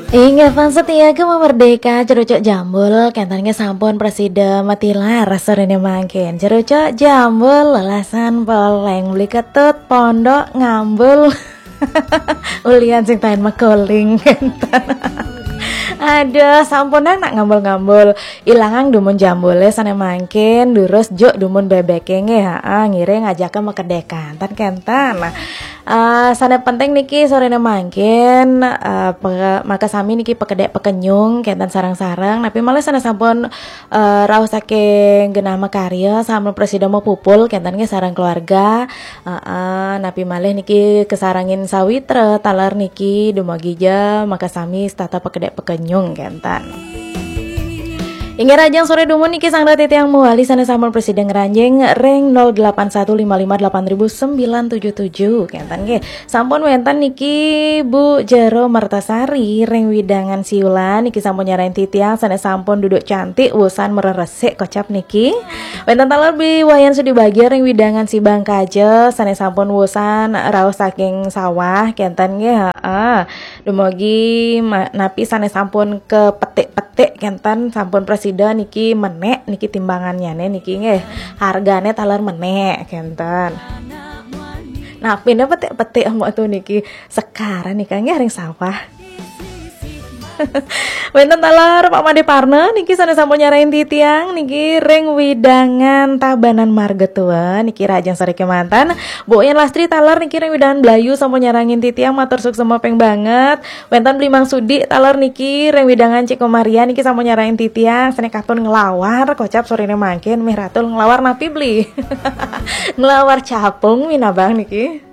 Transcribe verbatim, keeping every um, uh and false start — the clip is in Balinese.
Inggih, fans setia Gema Merdeka, cerucuk jambul, kénten nggih sampun prasida matilar soréné mangkin. Cerucuk jambul, lelasan poleng, beli ketut, pondok, ngambul. Ulian sing taén makoling, kénten. Aduh, sampunang nak ngambul-ngambul. Ilangang dumun jambulé sané mangkin, durus juk dumun bébéké nggih, ha, ngiring ajaka makedékan. Tan kénten. Nah, eh, sané penting niki soréné mangkin, eh, pe-, makasami niki pakedék pakenyung kénten sareng-sareng. Napi malih sané sampun, eh, rauh saking genah makarya, sampun prasida mapupul kénten nggih sareng keluarga. Heeh, napi malih niki kasarengin sawitra taler niki dumugi ja makasami setata pakedék pakenyung kénten. Inggih rahajeng soré dumun niki sareng titiang mawali sané sampun prasida ngranjing ring nol delapan satu lima lima delapan ribu sembilan tujuh tujuh kénten nggih. Sampun wénten niki Bu Jero Mertasari ring wewidangan Siulan niki sampun nyarengin titiang sané sampun duduk cantik wusan mreresik kocap niki. Wénten taler Bi Wayan Sudi Bagia ring wewidangan Sibang Kaja sané sampun wusan rauh saking sawah kénten nggih, heeh. Dumugi ma-, napi sané sampun kapetik-petik kénten sampun prasida niki menék niki timbangannyané niki nggih. Hargané taler menék kénten. Napiné petik-petik mbok tu niki sekaran nika nggih ring sawah. Wénten taler Pak Made Parna niki sané sampun nyarengin titiang niki ring wewidangan Tabanan Marga Tua niki rahajeng soré kémanten. Bu Yan Lastri taler niki ring wewidangan Blayu sampun nyarengin titiang, matur suksma ping banget. Wénten Bli Mang Sudi taler niki ring wewidangan Cik Maria niki sampun nyarengin titiang, sané katun nglawar kocap soréné mangkin, mih ratul nglawar napi Bli? Nglawar capung minabang niki.